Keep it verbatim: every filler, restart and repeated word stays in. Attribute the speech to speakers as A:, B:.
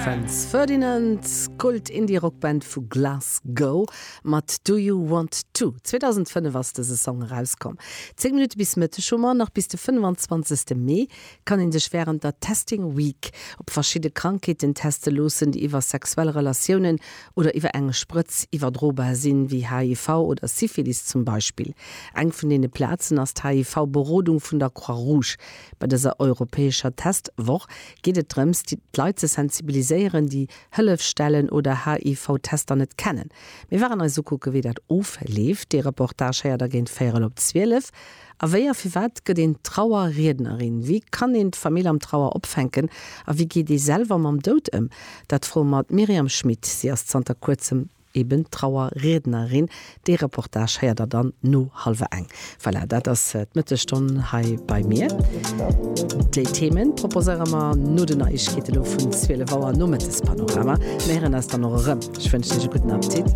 A: Franz Ferdinand, Kult Indie-Rockband vu Glasgow mat Do You Want To. zweedausendfënnef ass dëse Song erauskomm. Zéng Minutte bis Mëtteg hu mer. Nach bis de fënnefenzwanzegste Mee kann een sech wärend der Testing Week op verschidde Krankheeten teste loossen, déi iwwer sexuell Relatiounen oder iwwer eng Sprëtz iwwerdrobar sinn, wéi H I V oder Syphilis zum Beispill. Eng vun deene Plazen ass d'H I V-Berodung vun der Croix-Rouge. Bei dëser europäescher Testwoch geet et drëms, d'Leit ze sensibiliséieren, déi Hëllefsstellen oder H I V-Tester net kennen. Mir waren eis ukucke wéi dat ofleeft. Dee Reportage héiert der géint véierel op zwielef. A wéi a firwat gëtt een Trauerriednerin? Wéi kann een d'Famill am Trauer opfänken? A wéi geet ee selwer mam Doud ëm? Dat froe mer d'Myriam Schmit. Si ass zanter kuerzem eben Trauerriednerin. Dee Reportage héiert der dann no hallwer eng. Voilà, dat ass d'Mëttesstonn hei bei mir. Déi Themen proposéiere mer no den Neiegkeete lo vun zwielef Auer nom Mëttespanorama. Mir héieren eis dann och erëm. Ech wënschen iech e gudden Appetit.